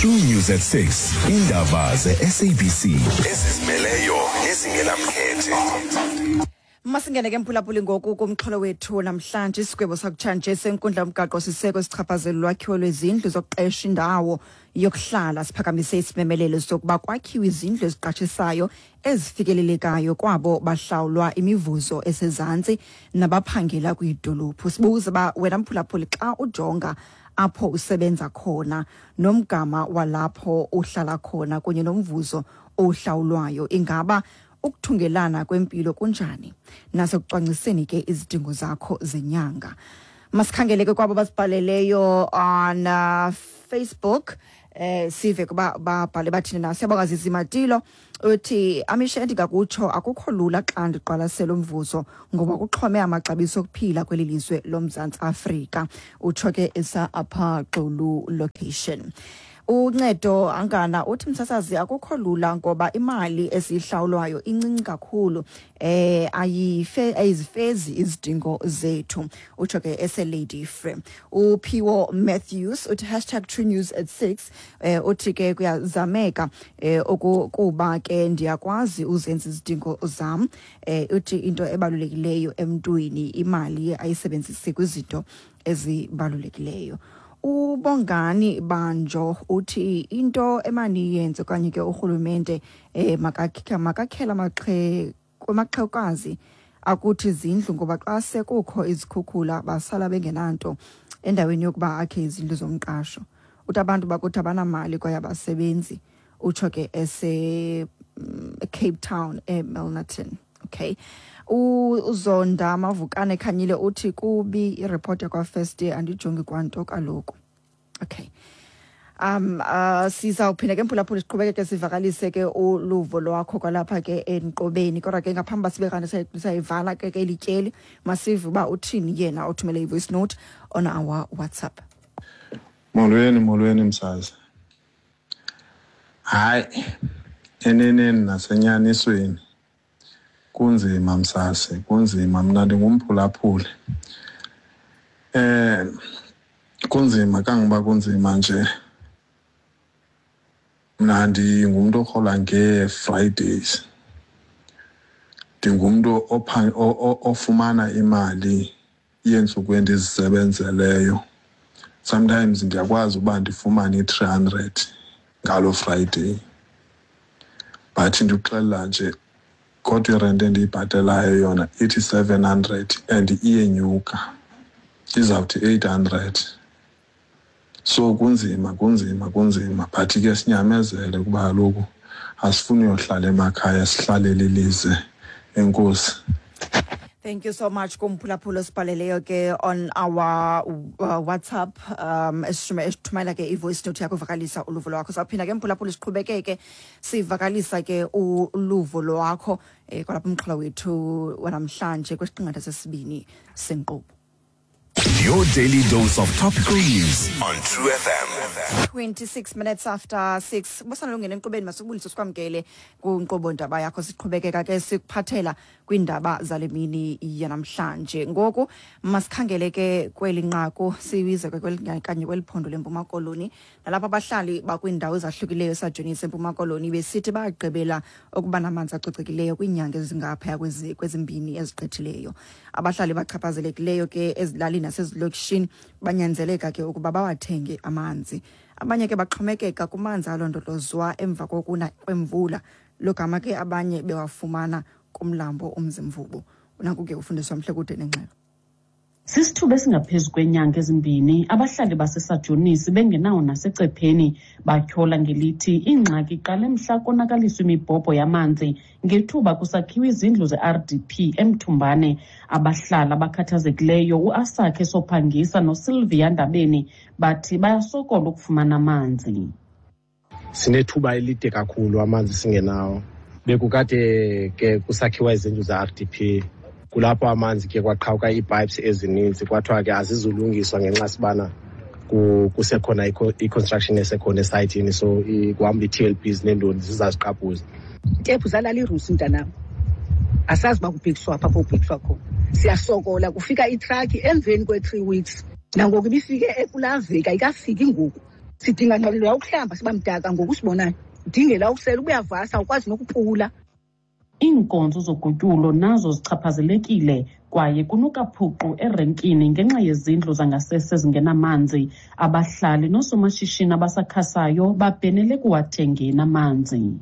True News at 6. Indaba ze-SABC ezizimeleyo nezingenamkhethe. Masingene ke mphulaphuli ngoku kumxholo wethu namhlanje. Isigwebo sakutshanje senkundla yomgaqo siseko esichaphazela ulwakhiwo lwezindlu zokuqesha indawo yokuhlala siphakamise isimemelelo sokuba kwakhiwe izindlu eziqashisayo ezifikelelekayo kwabo bahlawulwa imivuzo esezantsi nabaphangela kwiidolophu. Sibuza uba wena mphulaphuli, xa ujonga apho usebenza khona nomgama walapho uhlala khona kunye nomvuzo owuhlawulwayo, ingaba ukuthungelana kwempilo kunjani nasekucwangciseni ke izidingo zakho zenyanga? Masikhangele ke kwabo basibhaleleyo on Facebook, sive kuba babhale bathini na. Siyabonga Zizi Matilo uthi, "Amishe, endingakutsho akukho lula xa ndiqwalasela umvuzo ngoba kuxhome amaxabiso okuphila kweli lizwe loMzantsi Afrika." Utsho ke esa apha Xulu location. Uncedo Angana uthi, "Msasazi, akukho lula ngoba imali esiyihlawulwayo incinci kakhulu, ayife ayizifezi izidingo zethu." Utsho ke ese-Lady Frere. Uphiwo Matthews uthi #TrueNews at 6, uthi ke kuyazameka ukuba ke ndiyakwazi uzenza izidingo zam. Uthi into ebalulekileyo emntwini imali ayisebenzisi kwizinto ezibalulekileyo. Ubongani Banjo uthi into emaniyenze okanye ke urhulumente makakhela kwamaxhewukazi akuthi izindlu, ngoba xa sekukho izikhukhula basala bengenanto, endaweni yokuba akhe izindlu zomqasho. Uthi abantu bakuthi abanamali kwaye abasebenzi. Utsho ke ese Cape Town, eMilnerton. Okay, uZonda Mavukane Khanyile uthi kubi ireport yakwa-First Day, andijongi kwanto kaloku. Okay, sizawuphinda ke mphulaphula siqhubekeke sivakalise ke uluvo lwakho kwalapha ke enkqubeni, kodwa ke ngaphambi uba sibe kanti sayivala ke lityeli, masive uba uthini yena othumele i-voice note on our WhatsApp. Molweni, molweni msazi. Hayi, eneneni nasenyanisweni kunzima msasi, kunzima. Mna ndingumphulaphuli. Kunzima kangoba kunzima nje. Mna ndingumntu orhola ngee-Fridays. Ndingumntu ofumana imali yeentsuku endizisebenzeleyo. Sometimes ndiyakwazi uba ndifumane i-300 ngaloo Friday. But ndikuxelela nje, kodwa irenti endiyibhatelayo yona ithi 700 and iyenyuka, izawuthi 800. So kunzima, kunzima, kunzima, but ke sinyamezele kuba kaloku asifuni uyohlala emakhaya, sihlalele ilize. Enkosi. Thank you so much kumphulaphula osibhaleleyo ke on our WhatsApp, esithumela ke i-voice note yakho uvakalisa uluvo lwakho. Sawuphinda ke mphulaphula siqhubekeke sivakalisa ke uluvo lwakho kwalapha umxholo wethu wanamhlanje kwisiqingatha sesibini senkqubo. Your daily dose of topical news on True FM. 26 minutes after 6. Bosana lungena enkqubeni, masibulise sikwamkele kwinkqubo ndaba yakho. Siqhubekeka ke sikuphathela kwiindaba zale mini yanamhlanje. Ngoku masikhangele ke kweli nqaku sibize ke kanye kweli phondo leMpuma Koloni, nalapho abahlali bakwiindawo ezahlukileyo eSajonisi eMpuma Koloni besithi bagqibela ukuba namanzi acocekileyo kwiinyanga ezingaphaya kwezimbini ezigqithileyo. Abahlali bachaphazelekileyo ke ezilalini nasezilokishini banyanzeleka ke ukuba bawathenge amanzi. Abanye ke baxhomekeka kumanzi alondolozwa emva kokuna kwemvula, logama ke abanye bewafumana kumlambo uMzimvubu. Naku ke ufundiswa mhle kude nengxelo. Sisithuba esingaphezu kwenyanga ezimbini abahlali baseSajonisi bengenawo nasecepheni. Batyhola ngelithi ingxaki iqale mhla konakaliswa imibhobho yamanzi ngethuba kusakhiwa izindlu ze-RDP eMthumbane. Abahlali abakhathazekileyo uAsakhe Sophangisa noSylvia Ndabeni bathi bayasokola ukufumana amanzi. Sinethuba elide kakhulu amanzi singenawo. Bekukade ke kusakhiwa izindlu ze-RDP, kulapho amanzi ke kwaqhawuka ii-pipes ezininzi, kwathiwa ke azizulungiswa ngenxa sibana kusekhona i-construction esekhona esayithini, so kuhamba ii-TLBs neentoni zizaziqaphuza. Tephu zalala irusi, mntanam, asazi uba kubhekiswa phi apho kubhekiswa khona. Siyasokola, kufika itrakhi emveni kwe-3 weeks, nangoku ibifike ekulaa veki, ayikafiki ngoku. Sidinga nqalelo ukuhlamba, siba mdaka ngoku sibonayo. Udingela ukusela, ubuyavasa, awukwazi nokupula. Iinkonzo zogutyulo nazo zichaphazelekile kwaye kunuka phuqu erenkini ngenxa yezindlu zangasese ezingenamanzi. Abahlali noosomashishini abasakhasayo babhenele kuwathengeni amanzi.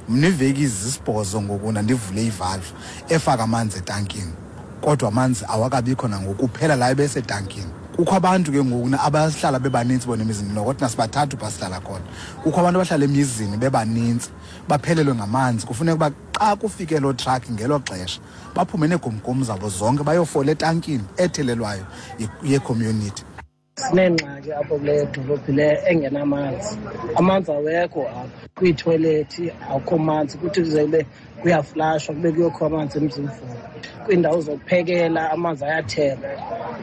Mna iveki zisibhozo ngoku ndandivule ivalve efaka amanzi etankini, kodwa amanzi awakabikho nangoku, kuphela la ebesetankini. Kukho abantu ke ngoku abahlala bebanintsi bona emizini, noko thina sibathathu phaa sihlala khona. Kukho abantu abahlala emizini bebanintsi, baphelelwe ngamanzi. Kufuneka uba xa kufike loo truck ngelo xesha baphume neegumgum zabo zonke bayofola etankini ethelelwayo yecommunity. Sineengxaki apho kule dolophi le engenamanzi. Amanzi awekho apha kwiithoyilethi, akukho manzi. Kuthi kuze kube kuyaflashwa kube kuyokho amanzi eMzimvubu. Kwiindawo zokuphekela amanzi ayathengwa,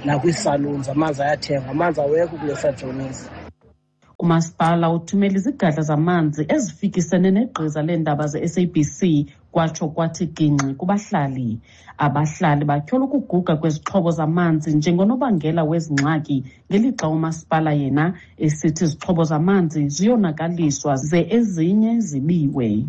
nakwiisalons amanzi ayathengwa. Amanzi awekho kule Sajonisi. Umasipala uthumela izigadla zamanzi ezifikisene negqiza leendaba ze-SABC kwatsho kwathi gingxi kubahlali. Abahlali batyhola ukuguga kwezixhobo zamanzi njengonobangela wezi ngxaki, ngelixa umasipala yena esithi izixhobo zamanzi ziyonakaliswa ze ezinye zibiwe.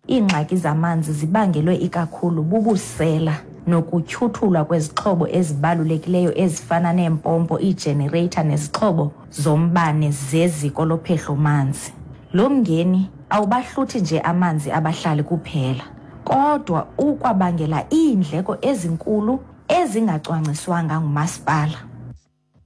Iingxaki zamanzi zibangelwe ikakhulu bubusela nokutyhuthulwa kwezixhobo ezibalulekileyo ezifana neempompo, iijenereyitha nezixhobo zombane zeziko lophehlo-manzi. Lo mngeni awubahluthi nje amanzi abahlali kuphela, kodwa ukwabangela iindleko ezinkulu ezingacwangciswanga ngumasipala.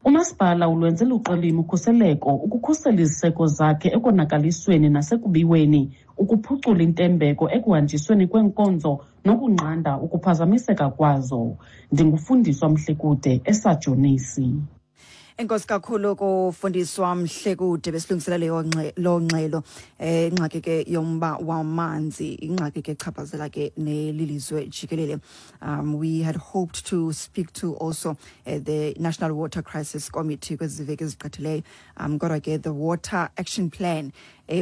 Umasipala ulwenze luqilima ukhuseleko ukukhusela iziseko zakhe ekonakalisweni nasekubiweni, ukuphucula intembeko ekuhanjisweni kweenkonzo nokunqanda ukuphazamiseka kwazo. Ndingufundiswa Mhlekude eSajonisi. Enkosi kakhulu kufundiswa Mhlekude, besilungisela leyo loo ngxelo. Ingxaki ke yomba wamanzi, ingxaki ke echaphazela ke nelilizwe jikelele. We had hoped to speak to also the National Water Crisis Committee kwezi veki ezigqithileyo, kodwa ke the Water Action Plan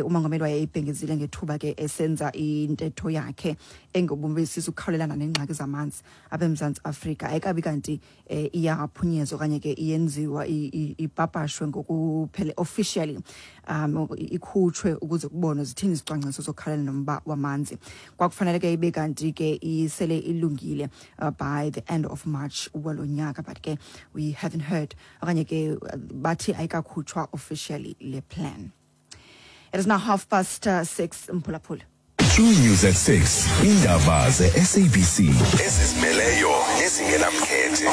umongameli wayeyibhengezile ngethuba ke esenza intetho yakhe engobumbisisa ukukhawulelana neengxaki zamanzi apha eMzantsi Afrika, ayikabi kanti iyaphunyezwa okanye ke iyenziwa, ipapashwe ngokuphele officially, ikhutshwe ukuze kubonwe zithini izicwangciso zokukhalela nomba wamanzi. Kwakufanele ke ibe kanti ke isele ilungile by the end of March walo nyaka, but ke we haven't heard okanye ke bathi ayikakhutshwa officially le plan. It is now 6:30, mphulaphula. True News at 6. Indaba ze-SABC ezizimeleyo nezingenamkhethe.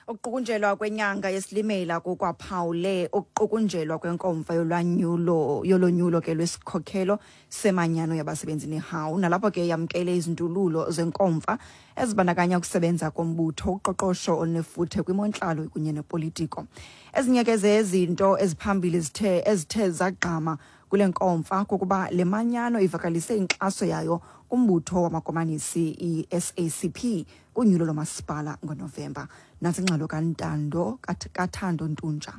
Ukuqukunjelwa kwenyanga yeSilimela kukwaphawule ukuqukunjelwa kwenkomfa yolwanyulo yolonyulo ke lwesikhokhelo semanyano yabasebenzi neHAWU, nalapho ke yamkele izindululo zenkomfa ezibandakanya ukusebenza kombutho, uqoqosho olunefuthe kwimontlalo kunye nepolitiko. Ezinye ke zezinto eziphambili ezithe zagqama kule nkomfa kukuba le manyano ivakalise inkxaso yayo kumbutho wamakomanisi i-SACP kunyulo lomasipala ngoNovemba. Nantsi ingxelo kaNtando kaThando Ntunja.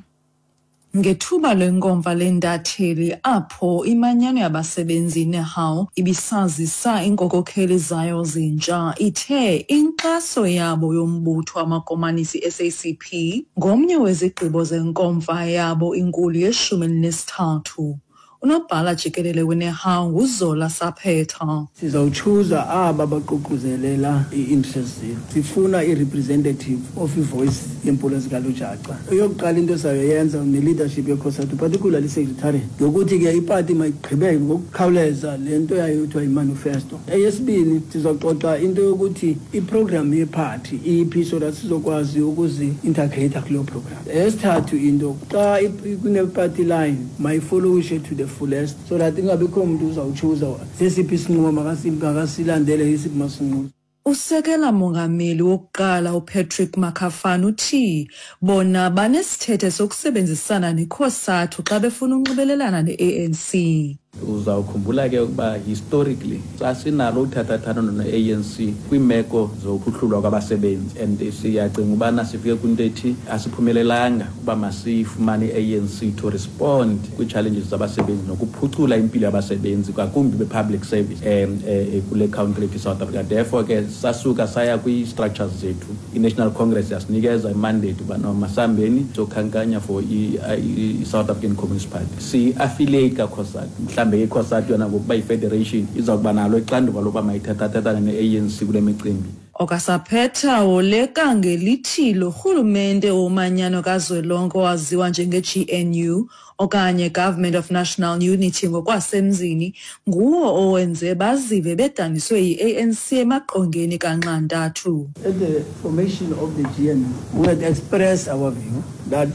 Ngethuba lenkomfa lentatheli apho imanyano yabasebenzi neHAWU ibisazisa iinkokheli zayo zintsha, ithe inkxaso yabo yombutho wamakomanisi SACP ngomnye wezigqibo zenkomfa yabo inkulu ye-13. Unobhala jikelele weNEHAWU nguZola Saphetha. Sizawutshuza aba baququzelela ii-interest zethu. Sifuna i-representative of i-voice yeempulo zikalujaca. Eyokuqala into esayoyenza ne-leadership yeCOSATU, particularly i-secretariat, yokuthi ke ipati mayigqibeke ngokukhawuleza le nto yayo kuthiwa yimanifesto. Eyesibini, sizoxoxa into yokuthi iprogram yephathi iphi so that sizokwazi ukuzi-integrate kuleyo program. Eyesithathu into, xa kune-party line mayifollowishe to the fullest so that ingabikho mntu uzawutshuza sesiphi isinqumo makasilandele, isiphi masinqumo. Usekela mongameli wokuqala uPatrick Makafana uthi bona banesithethe sokusebenzisana neCOSATU xa befuna unxibelelana ne-ANC. Uzawukhumbula ke ukuba historically sasinalo uthathathano no-ANC kwiimeko zokuhlulwa kwabasebenzi, and siyacinga ubana sifike kwinto ethi asiphumelelanga uba masifumane i-ANC to respond kwii-challenges zabasebenzi nokuphucula impilo yabasebenzi, ngakumbi be-public service kule country yethu South Africa. Therefore ke sasuka saya kwii-structures zethu, i-National Congress yasinikeza imandate uba no masihambeni sokhankanya for i-South African Communist Party, siyi-affiliate kaCOSATU. Mhlawumbe ke iCOSATU yona ngokuba yi-federation iza kuba nalo ixanduva lokuba mayithathathathane ne-ANC kule micimbi. Okasaphetha woleka ngelithi lo rhulumente womanyano kazwelonke owaziwa njenge-GNU okanye Government of National Unity ngokwasemzini nguwo owenze bazive bedaniswe yi-ANC emaqongeni kanxantathu. At the formation of the GNU, we had expressed our view that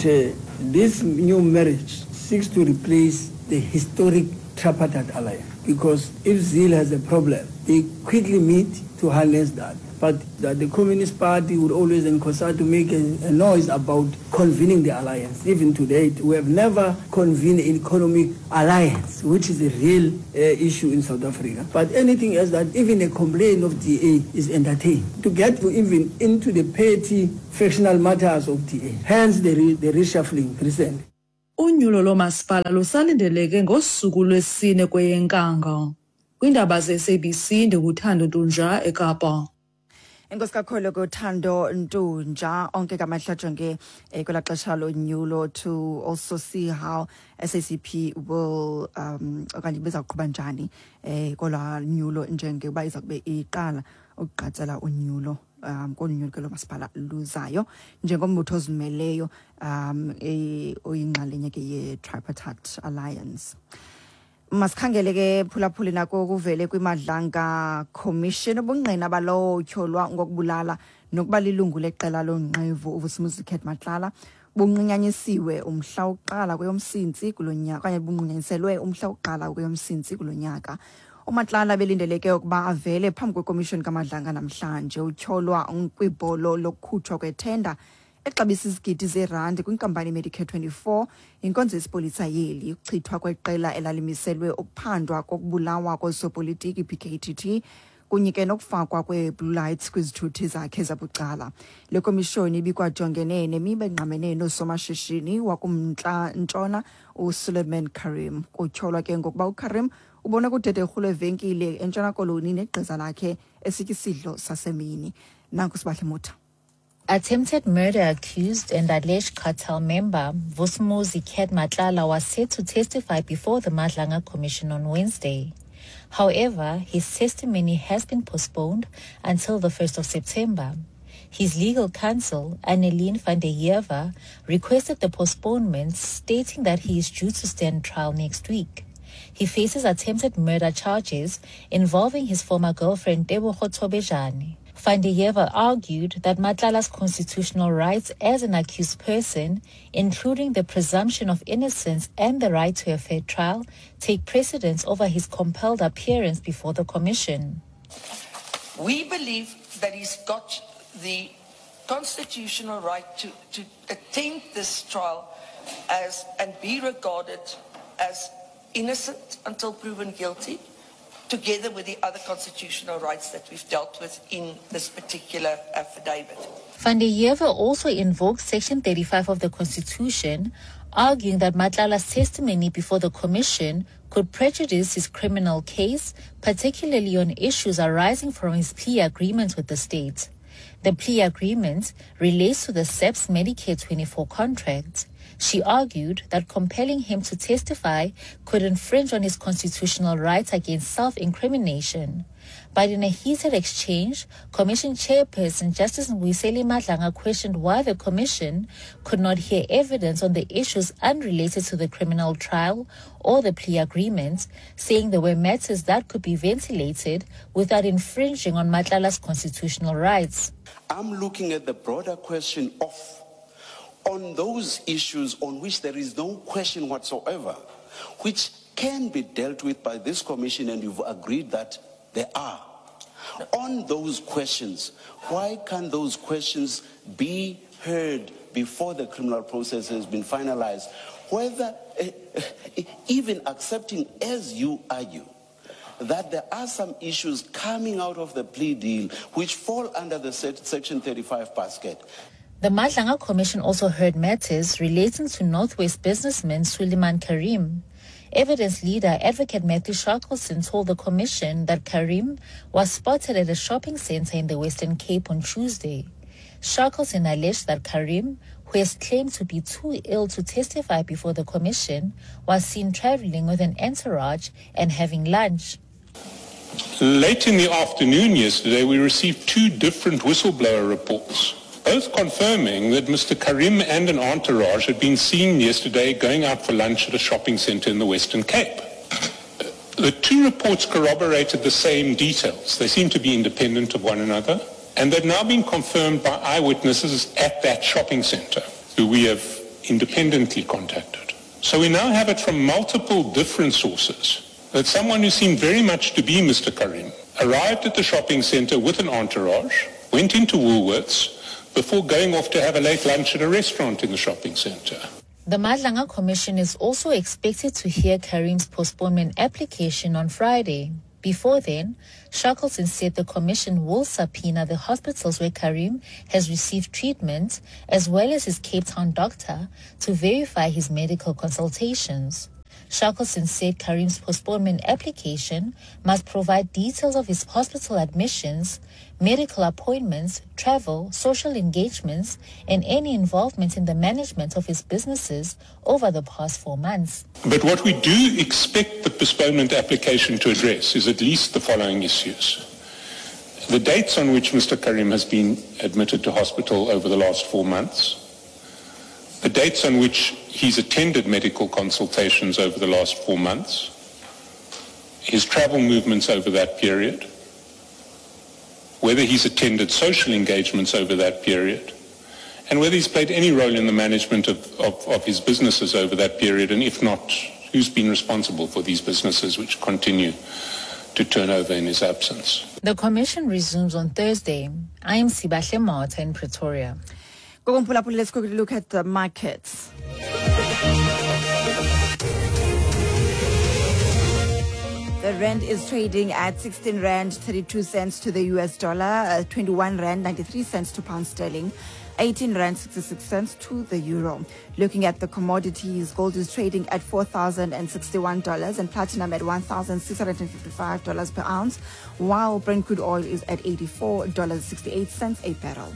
this new marriage seeks to replace the historic tripartite alliance. Because if ZIL has a problem, they quickly meet to harness that. But that the Communist Party would always and COSATU make a noise about convening the alliance. Even to date, we have never convened an economic alliance, which is a real issue in South Africa. But anything else that even a complaint of DA is entertained, to get to even into the petty factional matters of DA. Hence the reshuffling recently. Unyulo loomasipala lusalindeleke ngosuku lwesine kweyeNkanga. Kwiindaba ze-SABC ndinguThando Ntunja eKapa. Enkosi kakhulu kuThando Ntunja. Onke kamahla ajonge kwelaa xesha lonyulo to also see how SACP will okanye bezawuqhuba njani kolwaa nyulo, njengoba iza kube iqala ukugqatsela unyulo kolu nyulo ke lomasipala luzayo njengombutho ozimeleyo oyinxalenye ke ye-Tripartite Alliance. Masikhangele ke, phulaphuli, nako kuvele kwiMadlanga Commission ubungqina balowo utyholwa ngokubulala nokuba lilungu leqela lonqevu uVusimuzi Cat Matlala bunqunyanyisiwe umhla wokuqala kweyoMsintsi kulo nyaka, okanye bunqunyanyiselwe umhla wokuqala kweyoMsintsi kulo nyaka. UMatlala belindeleke ukuba avele phambi kwekomishoni kaMadlanga namhlanje. Utyholwa kwibholo lokukhutshwa kwethenda exabisa izigidi zeerandi kwinkampani Medicare 24 inkonzo yesipolisa yeli, ukuchithwa kweqela elalimiselwe ukuphandwa kokubulawa koosopolitiki PKTT, kunye ke nokufakwa kwee-blue lights kwizithuthi zakhe zabucala. Le komishoni ibikwajongene nemiba engqamene noosomashishini wakumntla ntshona uSuleiman Karim. Kutyholwa ke ngokuba uKarim ubona kudederhu lwevenkile eNtshona Koloni negqiza lakhe esitya isidlo sasemini. Nanku Sibahle Mutha. Attempted murder accused and alleged cartel member Vusimuzi Cat Matlala was set to testify before the Madlanga Commission on Wednesday. However, his testimony has been postponed until the 1st of September. His legal counsel, Annelien van der Heever, requested the postponement, stating that he is due to stand trial next week. He faces attempted murder charges involving his former girlfriend Tebogo Thobejane. Van der Heever argued that Matlala's constitutional rights as an accused person, including the presumption of innocence and the right to a fair trial, take precedence over his compelled appearance before the commission. We believe that he's got the constitutional right to attend this trial as and be regarded as innocent until proven guilty, together with the other constitutional rights that we've dealt with in this particular affidavit. Van der Heever also invoked Section 35 of the Constitution, arguing that Matlala's testimony before the commission could prejudice his criminal case, particularly on issues arising from his plea agreement with the state. The plea agreement relates to the SAPS Medicare 24 contract. She argued that compelling him to testify could infringe on his constitutional rights against self-incrimination. But in a heated exchange, Commission Chairperson Justice Mbuyiseli Madlanga questioned why the Commission could not hear evidence on the issues unrelated to the criminal trial or the plea agreement, saying there were matters that could be ventilated without infringing on Matlala's constitutional rights. I'm looking at the broader question of on those issues on which there is no question whatsoever, which can be dealt with by this commission, and you've agreed that there are. On those questions, why can't those questions be heard before the criminal process has been finalized? Whether, even accepting, as you argue, that there are some issues coming out of the plea deal which fall under the Section 35 basket. The Madlanga Commission also heard matters relating to Northwest businessman Suleiman Karim. Evidence leader Advocate Matthew Shackleton told the commission that Karim was spotted at a shopping center in the Western Cape on Tuesday. Shackleton alleged that Karim, who has claimed to be too ill to testify before the commission, was seen traveling with an entourage and having lunch. Late in the afternoon yesterday, we received two different whistleblower reports, both confirming that Mr. Karim and an entourage had been seen yesterday going out for lunch at a shopping center in the Western Cape. The two reports corroborated the same details. They seem to be independent of one another, and they've now been confirmed by eyewitnesses at that shopping center, who we have independently contacted. So we now have it from multiple different sources that someone who seemed very much to be Mr. Karim arrived at the shopping center with an entourage, went into Woolworths, before going off to have a late lunch at a restaurant in the shopping center. The Madlanga Commission is also expected to hear Karim's postponement application on Friday. Before then, Shackleton said the commission will subpoena the hospitals where Karim has received treatment, as well as his Cape Town doctor, to verify his medical consultations. Shackleton said Karim's postponement application must provide details of his hospital admissions, medical appointments, travel, social engagements, and any involvement in the management of his businesses over the past 4 months. But what we do expect the postponement application to address is at least the following issues. The dates on which Mr. Karim has been admitted to hospital over the last 4 months, the dates on which he's attended medical consultations over the last 4 months, his travel movements over that period, whether he's attended social engagements over that period, and whether he's played any role in the management of his businesses over that period, and if not, who's been responsible for these businesses which continue to turn over in his absence. The commission resumes on Thursday. I am Sibahle Marta in Pretoria. Let's quickly look at the markets. The rand is trading at 16 rand 32 cents to the US dollar, 21 rand 93 cents to pound sterling, 18 rand 66 cents to the euro. Looking at the commodities, gold is trading at $4,061 and platinum at $1,655 per ounce, while Brent crude oil is at $84.68 a barrel.